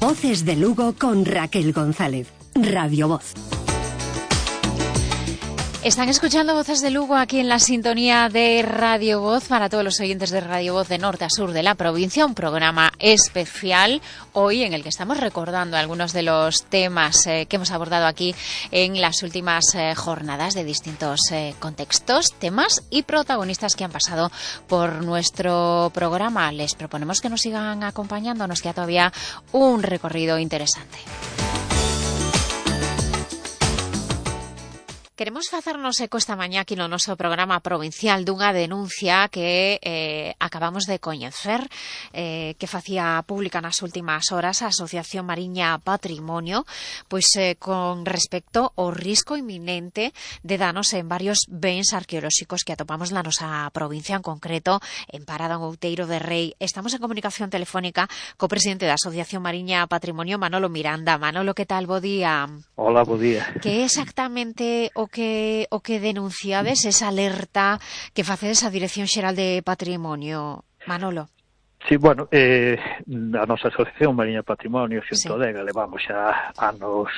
Voces de Lugo con Raquel González. Radio Voz. Están escuchando Voces de Lugo aquí en la sintonía de Radio Voz para todos los oyentes de Radio Voz de norte a sur de la provincia. Un programa especial hoy en el que estamos recordando algunos de los temas que hemos abordado aquí en las últimas jornadas de distintos contextos, temas y protagonistas que han pasado por nuestro programa. Les proponemos que nos sigan acompañando. Nos queda todavía un recorrido interesante. Queremos facernos eco esta mañá aquí no noso programa provincial dunha denuncia que acabamos de coñecer que facía pública nas últimas horas a Asociación Mariña Patrimonio con respecto ao risco inminente de danos en varios bens arqueolóxicos que atopamos na nosa provincia, en concreto en Parada en Outeiro de Rei. Estamos en comunicación telefónica co presidente da Asociación Mariña Patrimonio, Manolo Miranda. Manolo, que tal? Bo día. Hola, bo día. Que exactamente o que denunciades, esa alerta que facedes a Dirección Xeral de Patrimonio, Manolo? Sí, bueno, a nosa Asociación Mariña Patrimonio, xunto dega, levamos xa anos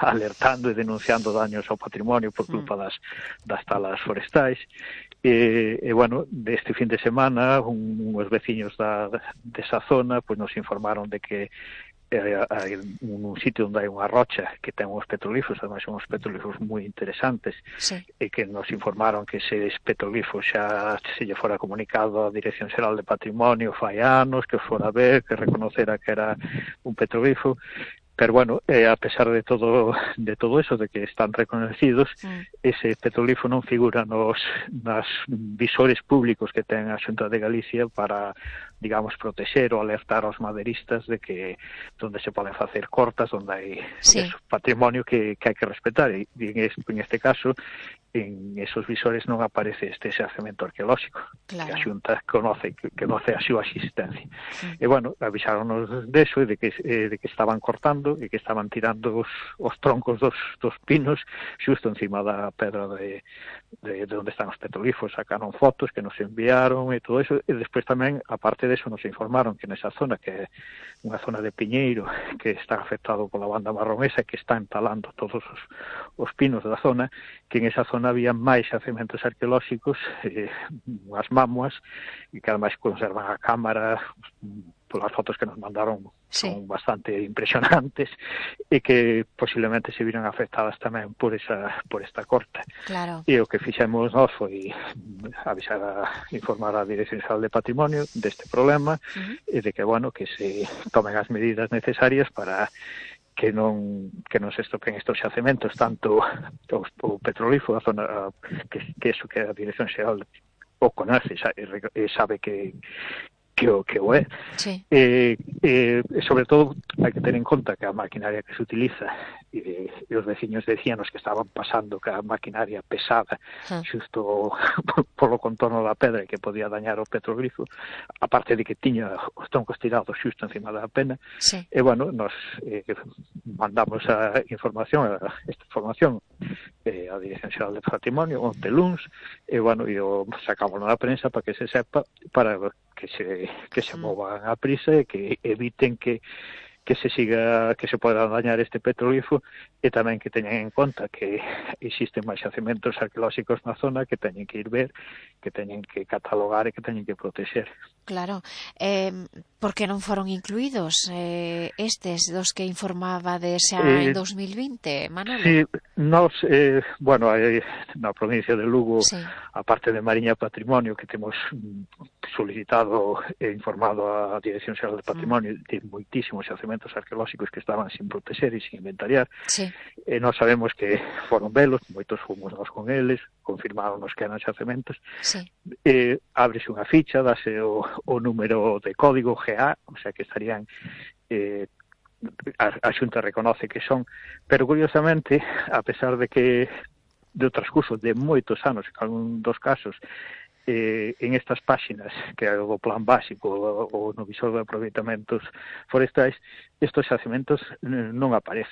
alertando e denunciando daños ao patrimonio por culpa das talas forestais. Bueno, deste fin de semana, uns veciños desa zona nos informaron de que hai un sitio onde hai unha rocha que ten uns petrolíferos, ademais son uns petrolíferos moi interesantes, e que nos informaron que ese petrolífero xa se lle fora comunicado á Dirección Xeral de Patrimonio fai anos, que fora a ver, que reconocera que era un petrolífero. Pero bueno, a pesar de todo eso, de que están reconocidos, ese petrolífero non figura nos visores públicos que ten a Xunta de Galicia para, digamos, protexer ou alertar aos maderistas de que donde se poden facer cortas, donde hai patrimonio que hai que respetar. E en este caso, en esos visores non aparece este xacemento arqueolóxico, claro, que a Xunta conoce a súa existencia. E bueno, avisáronos deso e de que estaban cortando e que estaban tirando os troncos dos pinos xusto encima da pedra de onde están os petrolíferos. Sacaron fotos que nos enviaron e todo eso, e despois tamén, aparte de eso, nos informaron que nesa zona, que é unha zona de piñeiro que está afectado pola banda marronesa, que está entalando todos os pinos da zona, que en esa zona había máis xacementos arqueolóxicos, unhas mamuas, e que ademais conservan a cámara, polas fotos que nos mandaron son bastante impresionantes, e que posiblemente se viran afectadas tamén por esta corta. Claro. E o que fixemos nós foi informar a Dirección Xeral de Patrimonio deste problema, e de que, bueno, que se tomen as medidas necesarias para que non se estropeen estos xacementos, tanto o petrolífero, a zona que a Dirección Xeral o conoce e sabe que o é. Sobre todo, hai que ter en conta que a maquinaria que se utiliza, e os veciños decíanos que estaban pasando que a maquinaria pesada xusto polo contorno da pedra e que podía dañar o petroglifo, aparte de que tiña os troncos tirados xusto encima da pena. E bueno, nos mandamos esta información a Dirección Xeral de Patrimonio onte luns, e bueno, sacamos na prensa para que se sepa, para que se movan a prisa e que eviten que se poda dañar este petrolífero, e tamén que teñan en conta que existen máis xacementos arqueolóxicos na zona que teñen que ir ver, que teñen que catalogar e que teñen que protexer. Claro. Por que non foron incluídos estes dos que informaba xa en 2020, Manolo? Sí, nos, bueno, na provincia de Lugo, aparte de Mariña Patrimonio, que temos solicitado e informado a Dirección Xeral de Patrimonio de moitísimos xacementos arqueolóxicos que estaban sin protexer e sin inventariar, e nós sabemos que foron velos, moitos fomos nós con eles, confirmáronos que eran xacementos, ábrese unha ficha, dase o número de código GA, o sea que estarían a Xunta reconoce que son, pero curiosamente, a pesar de que de transcurso de moitos anos, en algún dos casos, en estas páxinas que é o plan básico ou no visor de aproveitamentos forestais, estos xacementos non aparecen.